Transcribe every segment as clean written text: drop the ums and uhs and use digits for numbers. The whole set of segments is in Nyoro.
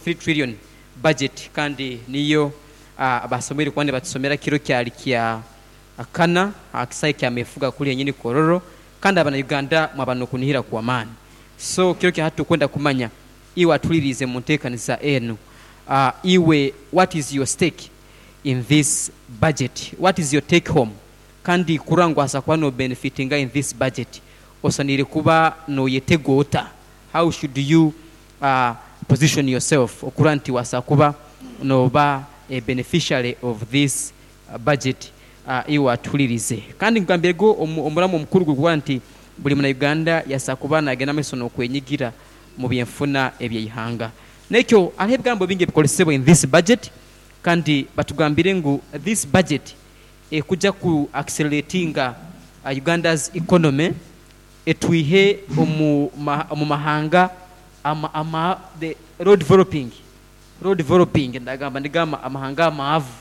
3 trillion budget, kandi niyo basomeire kuba nibatusomera kiro kyali kya kana aha kisaayi kya Mefuga kuli henyini Kololo, kandi abana Uganda mwaba nokunihira kwa maani. So kiro kya hati tukwenda kumanya iwe atuliriize mu nteekaniza enu, iwe what is your stake in this budget, what is your take home, kandi kurora ngu waasa kuba no benefitinga in this budget osaniire kuba noyetega ota? How should you position yourself okurora nti waasa kuba nooba a beneficiary of this budget iwe atuhuliriize. Kandi nkugambirege omuramwa omukuru guri kuba nti buri muna Uganda yaasa kuba nagenda mumaiso nokwenyigira mubyenfuna ebyeihanga. Nekyo hariho ebigambo bingi ebikoresebwa in this budget kandi batugambire ngu this budget ekuja ku acceleratinga Uganda's economy etwihe omu mahanga ama the low developing, low developing ndagamba nigo amahanga amaavu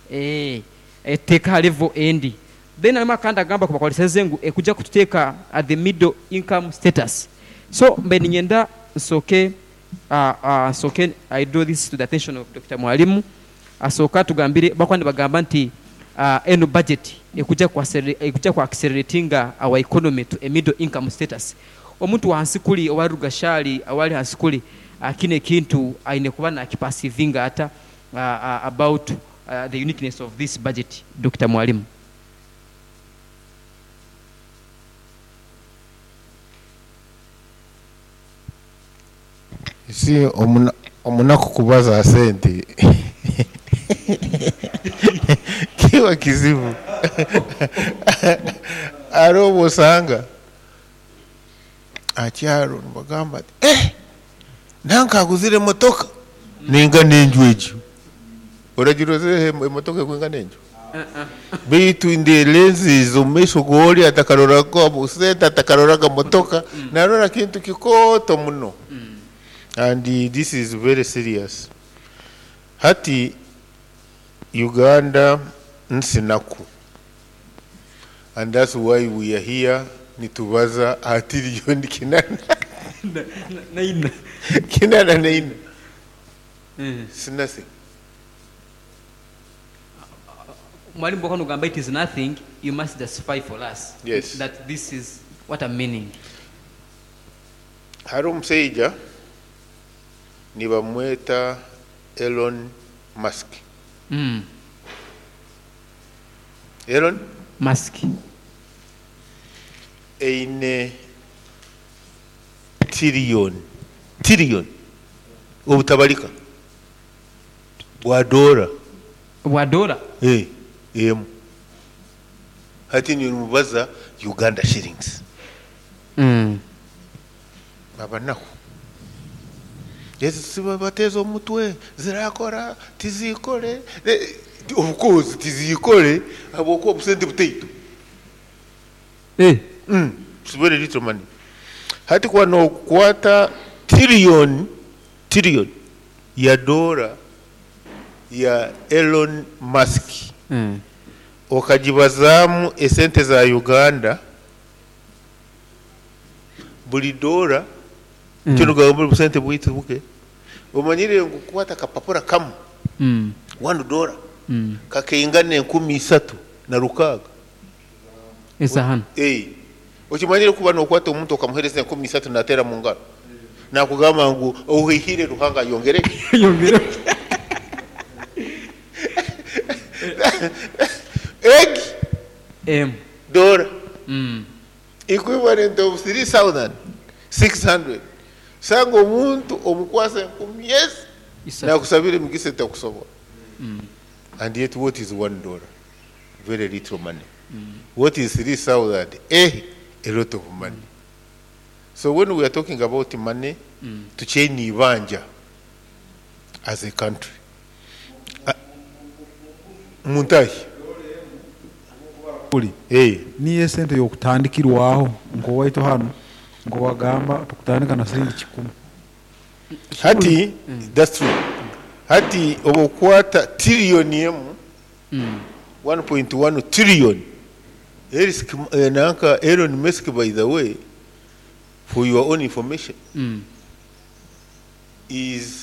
etuteeke aha level endi. Then harimu akandi akagambo akubakoreseze ngu ekuja kututeeka at the middle income status. So mbaire niinyenda nsooke nsooke I draw this to the attention of Dokita Mwalimu asooke atugambire bakuba nibagamba nti enu budget ekuja ku ekuja ku acceleratinga our economy to a middle income status. Omuntu owahansi kuri owari Rugashari owari hansi kuri kinu ekintu aine kuba nakiperceivinga ata about the uniqueness of this budget Dokita Mwalimu? You see, omunaku kubaza ha sente kiba kizibu. Hariho obu osanga aha kyaro nibagamba ati, eh, nanka aguzire emotoka neingana enju egyo. Oragirozereho emotoka ekwingana enju? Beitu in the lenses omu maisho g'ori atakaroraga sente, atakaroraga motoka, narora kintu kikooto muno. And this is very serious. Hati Uganda nsi naku and that's why we are here nitubaza aha tiriyoni kinana Naina. 84. It's nothing. Mwalimu bwokuba nogamba it is nothing, you must justify for us Yes. that this is what I'm meaning. Hariho omusaija nibamweta Elon Musk. Elon Musk. Eine tiriyoni, tiriyoni obutabarika bwa doora. Bwa doora? Eh, emu. Hati nimubaza Uganda shillings. Abanaku. Ezi bateeza omutwe, zirakora, tizikore. Of course tizikore habwokuba obusente butaito. It's very little money. Hati kuba nokwata trillion, trillion ya doora ya Elon Musk okagibazaamu esente za Uganda, buri doora, kinu gamba obusente bwaitu buke, omanyire ngu kukwata akapapura kamwe, $1, kakaingana 3600. Eza hanu. Eh. Okimanyire kuba nokwata omuntu okamuhereza 3000 nateera mu ngaro, nakugamba ngu ohaihire Ruhanga ayongere. Ayongere. Egi Emu. Doora equivalent of 3600. Sanga omuntu omukwasa enkumi ezi Isatu. Nakusabira emigisa etakusobora. And yet what is $1? Very little money. What is 3000? A lot of money. So when we are talking about money, tukyaine ibanja as a country. Muntahi. Niyo esente y'okutandikirwaho nk'owaitu hanu nk'owagamba tukutandika na siringi 1. Hati, that's true. Hati obukwata tiriyoni emu, 1.1 trillion. Eric, nanka Elon Musk, by the way, for your own information, is